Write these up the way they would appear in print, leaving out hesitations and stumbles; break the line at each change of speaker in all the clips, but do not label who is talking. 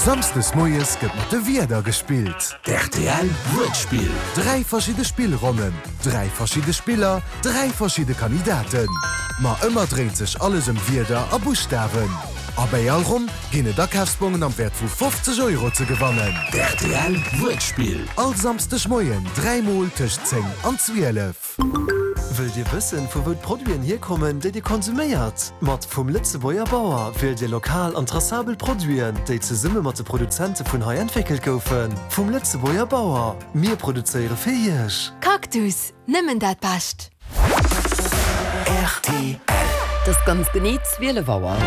Samsdes moies gëtt mat de Wierder gespillt.
D'RTL Wuertspill.
3 verschidde Spillronnen, 3 verschidde Spiller, 3 verschidde Kandidaten. Ma ëmmer dréint sech alles ëm Wierder a Buschtawen. A bäi all Ronn ginn et Akafsbongen am Wäert vu 50 Euro ze gewannen.
D'RTL Wuertspill.
All Samsdeg Moien 3 mol tëscht 10 an 12.
Wëllt Dir wëssen, vu wou d'Produiten hierkommen, déi Dir konsuméiert? Mat Vum Lëtzebuerger Bauer wielt Dir lokal an traçabel Produiten, déi zesumme mat de Produzente vun hei entwéckelt goufen. Vum Lëtzebuerger Bauer, mir produzéiere fir Iech!
Cactus, nëmmen dat Bescht!
Rtl.
Et ass ganz genee 12 Auer.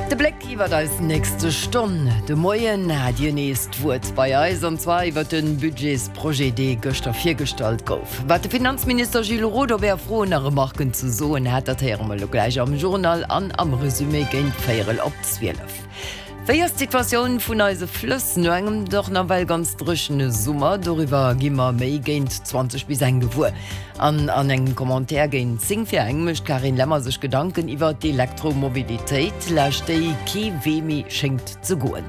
De Bléck iwwert eis nächste Stonn. De Moien hat Dir nees d'Wuert bei eis, an zwar iwwert de Budgetsprojet, dee gëschter virgestallt gouf. Wat de Finanzminister Gilles Roth op Är Froen a Remarken ze soen hat, dat héiere mer elo gläich am Journal an am Resumé géint véierel op 12. Wéi ass d'Situatioun vun eise Flëss no engem dach nawell ganz dréchene Summer? Doriwwer gi mer méi géint 20 bis eng gewuer. An an engem Commentaire géint 10 vir eng mécht d'Carine Lemmer sech Gedanken iwwer d'Elektromobilitéit, laascht déi kee Wee méi schéngt ze goen.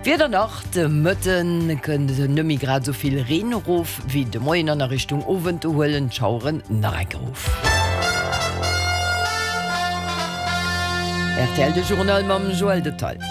D'Wieder nach, De Mëtte kënnt net méi grad esou vill Reen erof wéi de Moien an a Richtung Owend do huelen d'Schaueren nach eng Kéier of. Rtl, de Journal mam Joël Detail.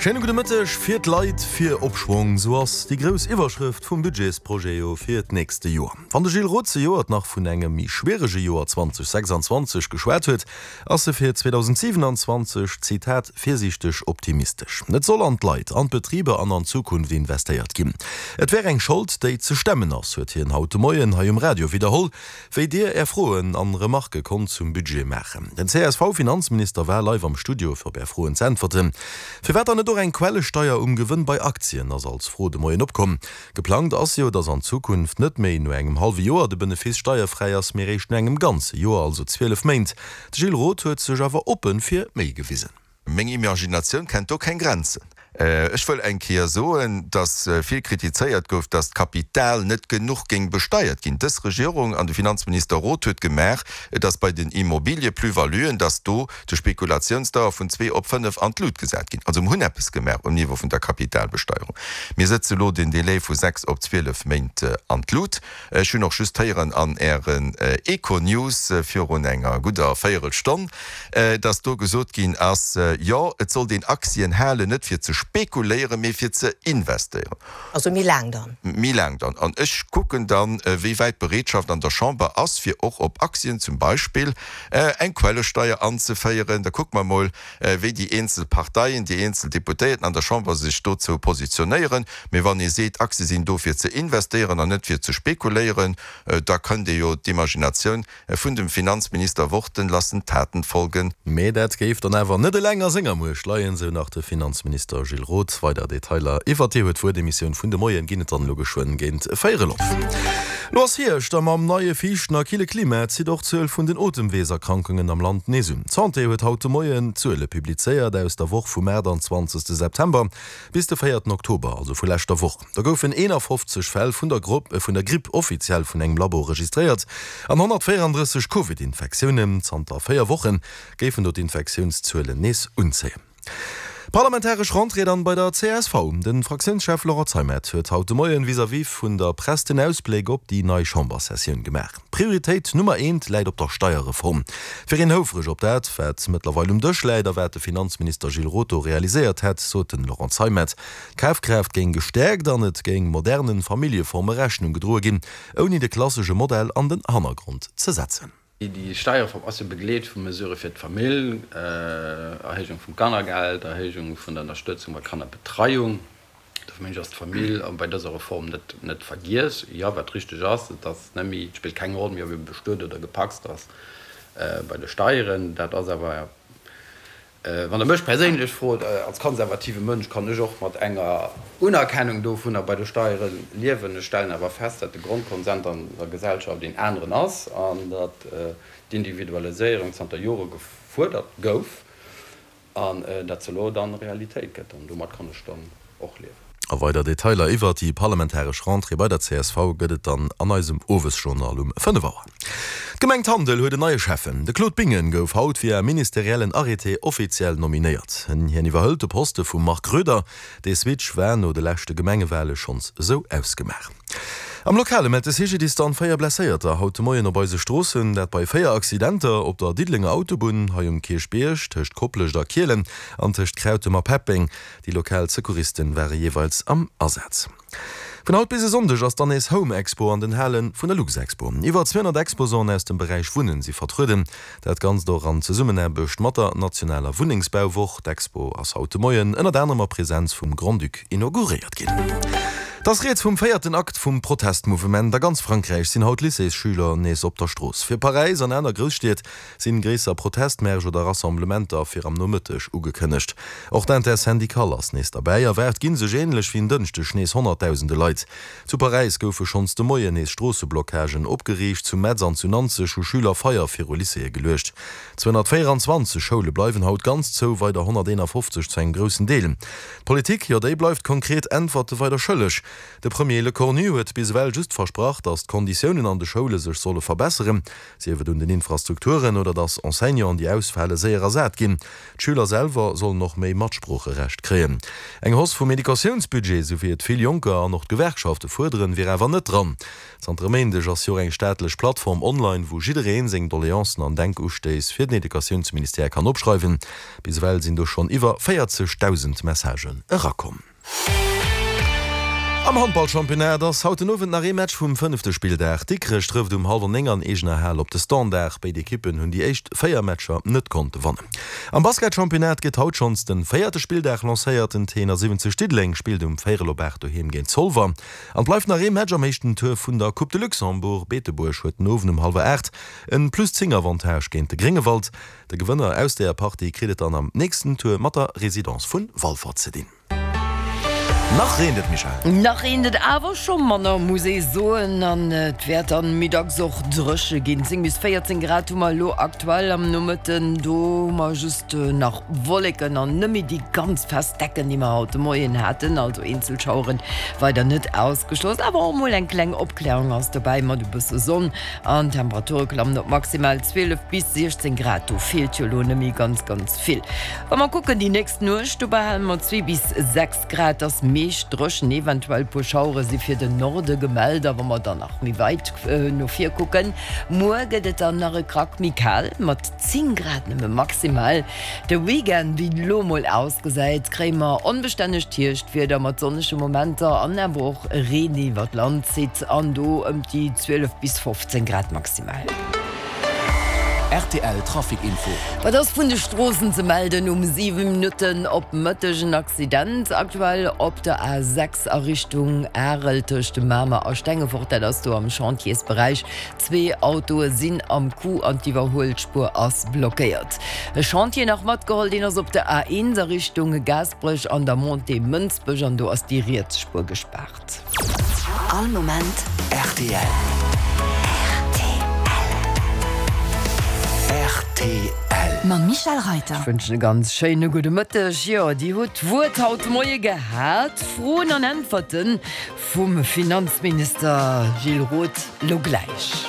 Schéine gudde Mëtteg. Fir d'Leit, fir Opschwong, sou ass déi grouss Iwwerschrëft vum Budgetsprojet jo fir d'nächste Joer. Wann de Gilles Roth zejoert nach vun engem méi schwierege Joer 2026 geschwat huet, ass e fir 2027, Zitat, virsiichteg optimistesch. Et soll an d'Leit, an d'Betriber an an d'Zukunft investéiert ginn. Et wär eng Schold, déi ze stemmen ass, huet hien haut de Moien hei um Radio widderholl. Wéi Dir Är Froen an Remarke konnt zum Budget maachen. Den CSV-Finanzminister war live am Studio fir op Är Froen z'äntwerten. Firwat dann net och eng Quellesteier um Gewënn bei Aktien, ass als Fro de Moien opkomm. Geplangt ass jo, dass an Zukunft net méi no engem hallwe Joer de Benefice steierfräi ass, mee réischt no engem ganze Joer, also 12 Méint. De Gilles Roth huet sech awer oppe fir méi gewisen.
Meng Imaginatioun kennt do keng Grenzen. Ech wëll eng Kéier soen, dass vill kritizéiert gouf, dass d'Kapital net genuch géing besteiert ginn. Dës Regierung an de Finanzminister Roth huet gemaach, dass bei den Immobilie-Plus-valuen, dass do de Spekulationsdauer vun zwee op fënnef an d'Lut gesat ginn. Also mir hunn eppes gemaach um Niveau vun der Kapitalbesteierung. Mir sëtze lo den Délai vu sechs op 12 Méint an d'Lut. Ech hunn och just héieren an Ären Econews virun enger gudder Véierelstonn, dass do gesot ginn ass, jo, et sollt een Aktien halen, net fir ze spekuléieren, mee fir ze investéieren.
Also méi laang dann.
Méi laang dann. An ech kucken dann, wéi wäit d'Bereetschaft an der Chamber ass, fir och op Aktien zum Beispill eng Quellesteier anzeféieren. Da kucke mer emol, wéi déi eenzel Parteien, déi eenzel Deputéierten an der Chamber sech dozou positionéieren. Mee wann ee seet, Aktie sinn do fir ze investéieren an net fir ze spekuléieren, da kënnt ee jo d'Imaginatioun vun dem Finanzminister Worten lassen Taten folgen.
Mee dat géif dann awer net eleng a senger Muecht leien, sou nach de Finanzminister Gilles Roth. Weider Detailer iwwert Dir huet d'Wuert-Emissioun vun de Moien ginn et dann elo geschwënn géint véierel op. Lo ass Hierscht a mam neie fiichten a kille Klima zitt och d'Zuel vun den Otemweeserkrankungen am Land nees un. D'Santé huet haut de Moien d'Zuele publizéiert aus der Woch vum 28 September bis de véierten Oktober, also vu leschter Woch. Da goufen 51 Fäll vun der vun der Gripp offiziell vun engem Labo registréiert an 134 Covid-Infektiounen. Zanter 4 Woche géifen do d'Infektiounszuelen nees unzéien. Parlamentaresch Rentrée dann bei der csv. De Fraktiounschef Laurent Zeimet huet haut de Moien vis-à-vis vun der Press den Ausbléck op déi nei Chamberssessioun gemaach. Prioritéit Nummer eent läit op der Steierreform. Et wier een houfreg op dat, wat mëttlerweil um Dësch läit a wat de Finanzminister Gilles Roth do realiséiert hätt, sot den Laurent Zeimet. D'Kafkraaft géing gestäerkt an et géing modernen Familljeforme Rechnung gedroe ginn, ouni de klassesche Modell an den Hannergrond ze setzen.
Déi Steierreform ass jo begleet vu Mesurë fir d'Famill, Erhéijung vum Kannergeld, Erhéijung vun der Ënnerstëtzung bei Kannerbetreiung. Dofir mengen ech, ass d'Famill bei dëser Reform net net vergiess. Jo, wat richteg ass, et ass net méi, et spillt keng Roll méi, ob ee bestuet oder gepacst ass bei de Steieren. Dat ass awer Wann Der mech perséinlech frot, als konservative Mënsch kann ech och mat enger Unerkennung dovunner bei de Steiere liewen. Ech stellen awer fest, datt de Grondkonsent an der Gesellschaft een aneren ass an datt d'Individualiséierung zanter Jore gefuerdert gouf an datt se elo dann Realitéit gëtt. An domat kann ech dann och liewen.
A weider Detailer iwwert déi parlamentaresch Rentrée bei der csv gëtt et dann an eisem Owesjournal um 5 Auer. D'Gemeng Tandel huet en neie Schäffen. De Claude Bingen gouf haut via ministeriellen Arrêté offiziell nominéiert. Hien iwwerhëlt de Poste vum Marc Roeder. Dee Switch war no de leschte Gemengewale schonns esou ausgemaach. Am Lokale mellt de CGDIS dann 4 Blesséierter haut de Moien op eise Stroossen. Dat bei 4 Accidenter op der Diddelenger Autobunn, hei um Kierchbierg, tëscht Koplescht a Kielen an tëscht Krautem a Peppeng. Déi lokal Secouristen ware jeeweils am Asaz. Vun haut bis e Sonndeg ass dann nees Home Expo an den Hale vun der Luxexpo. Iwwer 200 Exposanten aus dem Beräich Wunnen si vertrueden. Dat Ganzt och an Zesummenaarbecht mat der nationaler Wunnengsbauwoch. D'Expo ass haut de Moien ënnert anerem a Presenz vum Grand-Duc inauguréiert ginn. Et ass rieds vum véierten Akt vum Protestmouvement. A ganz Frankräich sinn haut Lycéesschüler nees op der Strooss. Fir Paräis an aner Grousstied Sinn gréisser Protestmärsch oder Rassemblementer fir am Nomëtteg ugekënnegt. Och d'Intersyndicale ass nees derbäi. Erwaart ginn sech ähnlech wéi en Dënschdeg nees honnertdausende Leit. Zu Paräis goufe schonns de Moien nees Stroosseblocagen opgeriicht. Zu Metz an zu Nanzeg hu Schüler Feier viru Lycéeë geluecht. 224 Schoule bleiwen haut ganz zou, weider 151 zu engem groussen Deel. D'Politik, jo déi bleift konkret Äntwerte weider schëlleg. De Premier Lecornu huet bis ewell just versprach, datt d'Konditiounen an de Schoule sech solle verbesseren. Sief et un den Infrastrukturen oder dass Enseignanten, déi ausfale, séier ersat ginn. D'Schüler selwer sollen och méi Matsproocherecht kréien. Eng Hausse vum Educatiounsbudget, sou wéi et vill Jonker an och d'Gewerkschafte fuerderen, wier awer net dran. Zanter e Méindeg ass jo och eng staatlech Plattform online, wou jidderee seng Doleancen an Denkustéiss fir den Educatiounsministère kann opschreiwen. Bis ewell sinn do schonn iwwer 40.000 Messagen erakomm. Am Handballchampionnat ass haut den Owend nach ee Match vum fënnefte Spilldag. Dikrech trëfft um hallwer 9 an eegener Hal op de Standard. Béid Ekippen hunn déi éischt 4 Matcher net konnte wannen. Am Basketchampionnat gëtt haut schonns de véierte Spilldag lancéiert. Den T71 Diddeleng spillt um véierel op 8 doheem géint Zolwer. An et bleift nach ee Match am éischten Tour vun der Coupe de Luxembourg. Beetebuerg huet den Owend um hallwer 8 en plus 10 Avantage géint de Gréngewald. De Gewënner aus deeër Partie kritt et dann am nächsten Tour mat der Residence vun Walfer ze dinn. Nach reent et, Michèle.
Nach reent et awer scho manner, muss ee soen, an et wäert dann méi dacks och dréche ginn. 10 bis 14 Grad hu mer elo aktuell am Nomëtten, do hu mer just nach Wolleken an net méi déi ganz fest Decken, déi mer haut de Moien haten. Also eenzel Schauere weider net ausgeschloss, awer och mol eng kleng Opklärung ass dobäi mat e bësse Sonn an d'Temperature klammen op maximal 12 bis 16 Grad. Do feelt jo elo net méi ganz, ganz vill. Wa mer kucken déi nächst Nuecht, do behale mer 2 bis 6 Grad, ass meescht dréchen, eventuell puer Schauere si fir den Norde gemellt. A wa mer dann nach méi weit no vir kucken, muer gëtt et dann nach e Krack méi kal, mat 10 Grad nëmme maximal. De Weekend, wéi et elo mol ausgesäit, kréie mer onbestännegt Hierschtwieder mat sonnege Momenter an awer och Reen, deen iwwer d'Land zitt, an do ëm déi 12 bis 15 Grad maximal.
Rtl Trafic Info.
Wat ass vun de Stroossen ze melden um 7 Minutten op Mëtteg? En Accident aktuell op der A6 a Richtung Arel tëscht Mamer a Stengefort, dat ass do am Chantiersberäich. Zwee Autoe sinn am Coup an d'Iwwerhuelspuer ass blockéiert. E Chantier nach matgeholl, deen ass op der A1 a Richtung Gaasperech an der Montée Mënsbech an do ass déi riets Spuer gespaart.
All Moment
rtl. Rtl.
Mam Michèle Reyter.
Ech wënschen e ganz schéine gudde Mëtteg. Jo, Dir hutt d'Wuert haut de Moie gehat. Froen an Äntwerte vum Finanzminister Gilles Roth lo gläich.